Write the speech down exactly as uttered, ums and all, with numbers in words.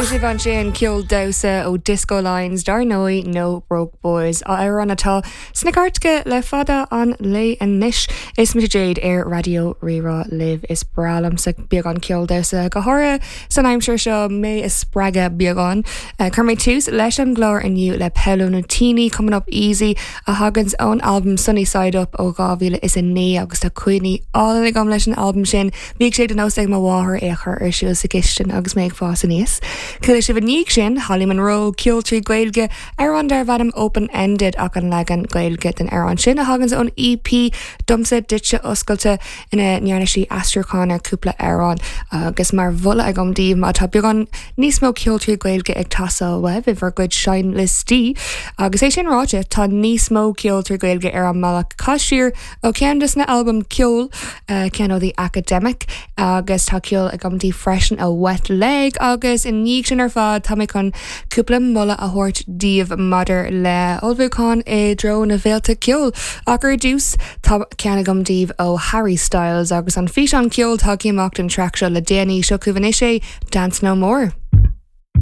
Chuala sibh ansin ceol damhsa ó Disco Lines dar ndóigh No Broke Boys amhrán atá sna cairteacha le fada an lá anois is mise Jade ar Raidió Rí-Rá libh is breá liomsa beagán ceol damhsa go háirithe san aimsir seo mé a spreagadh beagán. Uh, Chuir mé tús leis an gclár inniu le Paolo Nutini Coming Up Easy a thaganns ón album Sunny Side Up ó dhá mhíle is a naoi agus tá cuimhní álainn agam leis an album sin, Bhíodh sé de nós ag mo mháthair é a chur ar siúl sa chistin agus mé ag fás aníos. Chuala sibh i ndiaidh sin Holly Monroe ceol trí Ghaeilge amhrán darb ainm Open Ended ach an leagan Gaeilge den amhrán sin a thaganns ón EP Domsa Duitse Oscailte ina ndearna sí aistriúchán ar cúpla amhrán agus mar mholadh agam daoibh má tá beagán níos mó ceol trí Ghaeilge ag teastáil uaibh i bhur gcuid seinnliostaí agus é sin ráite tá níos mó ceol trí Ghaeilge ar an mbealach Cas Siar ó ceann de na albaim ceol uh, ceann ó The Academic agus tá ceol agam daoibh freisin ó Wet Leg agus i ndiaidh sin ar fad tá mé chun cúpla moladh a thabhairt daoibh maidir le ullmhúchán i dtreo na bhféilte ceoil ach ar dtús tá ceann agam daoibh ó Harry Styles agus an físeán ceoil tagtha amach don traic seo le déanaí seo chugaibh anois é Dance No More.